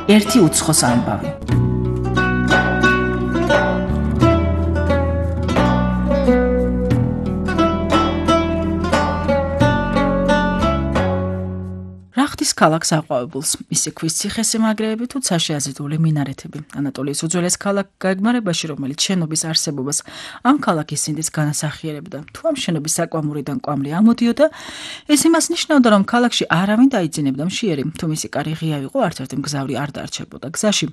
ერთი უცხოს ამბავი. რახტის ქალაქს აყვავებულს, მისი ქვის ციხესიმაგრეები თუ საშეაზიდული მინარეთები. ანატოლიის უძველეს ქალაქ გაგმარებაში, რომელიც შენობის არსებობას ამ ქალაქის სინდის განასახიერებდა. თუ ამ შენობის საკვამურიდან კვამლი ამოდიოდა, ეს იმას ნიშნავდა, რომ ქალაქში არავინ დაიძინებდა მშიერი, თუ მისი კარი ღია იყო, არც ერთი მგზავრი არ დარჩებოდა გზაში.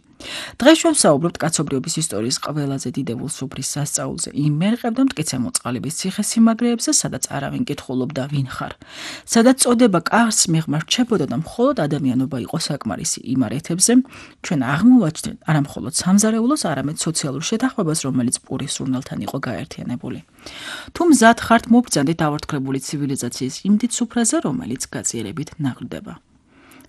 დღეს ჩვენ ვსაუბრობთ კაცობრიობის ისტორიის ყველაზე დიდებულ სუფრის სასწაულზე. იმ მერყევდა მტკიცე მოწყალების ციხესიმაგრეებზე, სადაც არავინ კითხულობდა ვინ ხარ. სადაც წოდება კარს მიღმა რჩებოდა და მხოლოდ ადამიანობა იყო საკმარისი იმარეთებზე, ჩვენ აღმოვაჩნდით არა მხოლოდ სამზარეულოს, არამედ სოციალურ შეთანხმებას, რომელიც პურის სურნელთან იყო გაერთიანებული. თუ მზად ხართ მობრძანდით ავართქლებული ცივილიზაციის იმ დიდ სუფრაზე, რომელიც გაწიერებით ნაყრდება.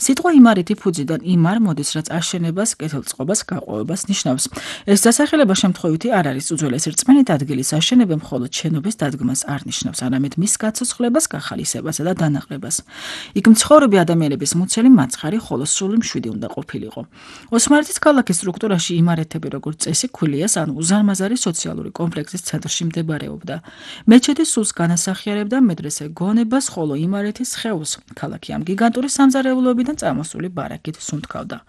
სიტყვა იმარეთი ფუძიდან იმარ მოდის, რაც აშენებას, კეთილწყობას, გაყვავებას ნიშნავს. ეს დასახელება შემთხვევითი არ არის უძველესი რწმენით ადგილის აშენება მხოლოდ შენობის დადგმას არ ნიშნავს, არამედ მის გაცოცხლებას, გახალისებასა და დანაყრებას. იქ მცხოვრები ადამიანების მუცელი მაცხარი, ხოლო სრული მშვიდი უნდა ყოფილიყო. ოსმალეთის ქალაქის სტრუქტურაში იმარეთები როგორც წესი ქვილიას ან უზარმაზარი სოციალური კომპლექსის ცენტრში მდებარეობდა. მეჩეთი სულს განასახიერებდა მედრესე გონებას, ხოლო იმარეთის სხეულს. ქალაქი ამ გიგანტური სამზარეულოებიდან წამოსული ბარაკით სუნთქავდა.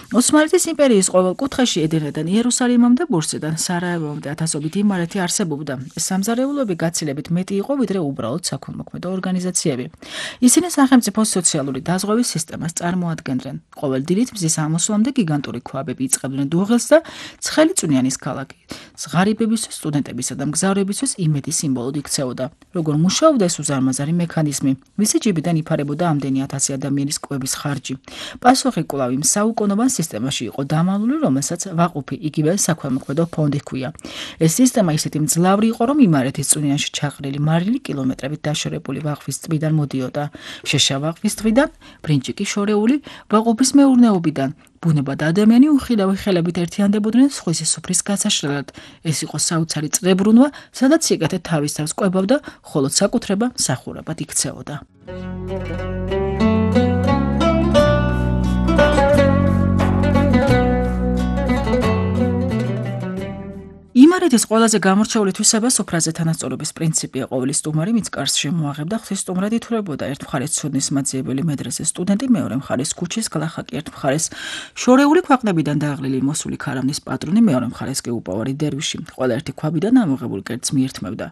ოსმალეთის იმპერიის ყოველ კუთხეში ედენიდან იერუსალიმამდე ბურსიდან სარაევომდე ათასობით იმარეთი არსებობდა. ეს სამზარეულოები გაცილებით მეტი იყო, ვიდრე უბრალოდ საქველმოქმედო ორგანიზაციები. ისინი სახელმწიფოს სოციალური დაზღვევის სისტემას წარმოადგენდნენ. ყოველ დილით მზის ამოსვლამდე გიგანტური ქვაბები იწყებდნენ დუღილს და ცხელი წვნიანის ქალაქი ღარიბებისთვის, სტუდენტებისა და მგზავრებისთვის იმედის სიმბოლოდ იქცეოდა. როგორ მუშაობდა ეს უზარმაზარი მექანიზმი? მისი ჯიბიდან იფარებოდა ამდენი 1000 ადამიანის კვების ხარჯი. პასუხი კვლავ იმ საუკუნოვან სისტემაში იყო დამალული, რომელსაც ვაყუფი, იგივე საქველმოქმედო ფონდი ჰქვია. ეს სისტემა ისეთი მძლავრი იყო, რომ იმარეთის წვნიანში ჩაყრილი მარილი კილომეტრებით დაშორებული ვაყფის ტბიდან მოდიოდა. შეშა ვაყფის ტბიდან, ბრინჯიკი შორეული ვაყუფის მეურნეობიდან. ბუნება და ადამიანი უხილავი ხელებით ერთიანდებოდნენ სხვისი სუფრის გასაშლელად. ეს იყო საოცარი წრებრუნვა, სადაც სიკეთე თავის თავს კვებავდა, ხოლო საკუთრება მსახურებად იქცეოდა. იმარეთის ყველაზე გამორჩეული თვისება სუფრაზე თანასწორობის პრინციპია. ყოველი სტუმარი მის კარს შემოაღებდა, ღვთის სტუმრად ითვლებოდა. ერთ მხარეს ცოდნის მაძიებელი მედრესეს სტუდენტი, მეორე მხარეს ქუჩის გლახაკი, ერთ მხარეს შორეული ქვეყნებიდან დააღლილი მოსული ქარავნის პატრონი, მეორე მხარეს კი უპოვარი დერვიში. ყველა ერთი ქვაბიდან ამოღებულ კერძს მიირთმევდა.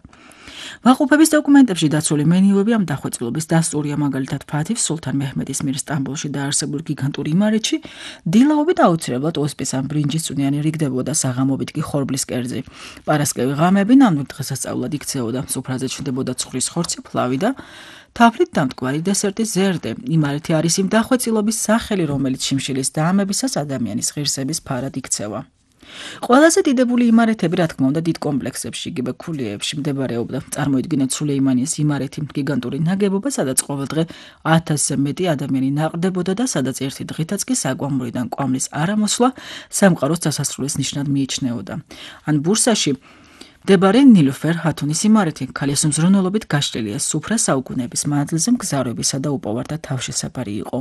ვაყუფების დოკუმენტებში დაცული მენიუები ამ დახვეწილობის დასტურია, მაგალითად ფათივ სულთან მეჰმედის მიერ სტამბოლში დაარსებულ გიგანტურ იმარეთში დილაობით აუცილებლად ოსპის ან ბრინჯის წვნიანი რიგდებოდა, საღამობით კი ხორბლის კერძი. პარასკევი ღამები ნამდვილ დღესასწაულად იქცეოდა. სუფრაზე ჩნდებოდა ცხვრის ხორცი, ფლავი და თაფლით დამტკვარი დესერტი ზერდე. იმარეთი არის იმ დახვეწილობის სახელი, რომელიც შიმშილის დაამებისას ადამიანის ღირსების ფარად იქცევა. ყველაზე დიდებული იმარეთები, რა თქმა უნდა, დიდ კომპლექსებში, იგივე ქულიეებში მდებარეობდა. წარმოიდგინეთ სულეიმანიის იმარეთი, გიგანტური ნაგებობა, სადაც ყოველდღე 1000-ზე მეტი ადამიანი ნაყრდებოდა და სადაც ერთი დღითაც კი საკვამურიდან კვამლის არამოსვლა სამყაროს დასასრულის ნიშნად მიიჩნეოდა. ან ბურსაში მდებარე ნილუფერ ჰათუნის იმარეთი, ქალის მზრუნველობით გაშლილია სუფრა საუკუნეების მანძილზე მგზავრებისა და უპოვართა თავშესაფარი იყო.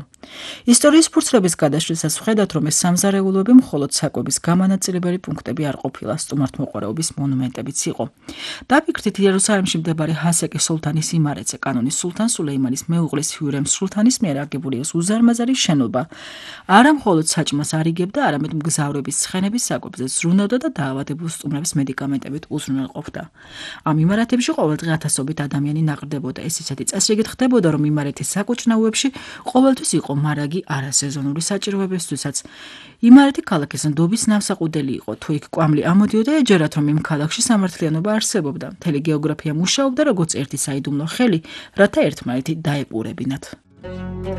ისტორიის ფურცლების გადაშლისას ვხედავთ, რომ ეს სამზარეულოები მხოლოდ საკვების გამანაწილებელი პუნქტები არ ყოფილა, სტუმართმოყვარეობის მონუმენტებიც იყო. დაფიქრდით იერუსალიმში მდებარე ჰასეკი სულთანის იმარეთზე, კანონის სულთან სულეიმანის მეუღლის ჰიურემ სულთანის მიერ აგებული ეს უზარმაზარი შენობა არა მხოლოდ საჭმას არ იგებდა, არამედ მგზავრების ცხენების საკვებზე ზრუნავდა და დაავადებულ სტუმრებს მედიკამენტებით უზრუნველყოფდა. ამ იმარეთებში ყოველდღე ათასობით ადამიანი ნაყრდებოდა. ეს ისეთი წესრიგით ხდებოდა, რომ იმარეთის საკუჭნაუებში ყოველთვის იყო მარაგი არასეზონური საჭიროებებისთვისაც. იმარეთი ქალაქის ნდობის ნავსაყუდელი იყო. თუ იქ კვამლი ამოდიოდა, ეჯერათ, რომ იმ ქალაქში სამართლიანობა არსებობდა. მთელი გეოგრაფია მუშაობდა როგორც ერთი საიდუმლო ხელი, რათა ერთმანეთი დაეპურებინათ.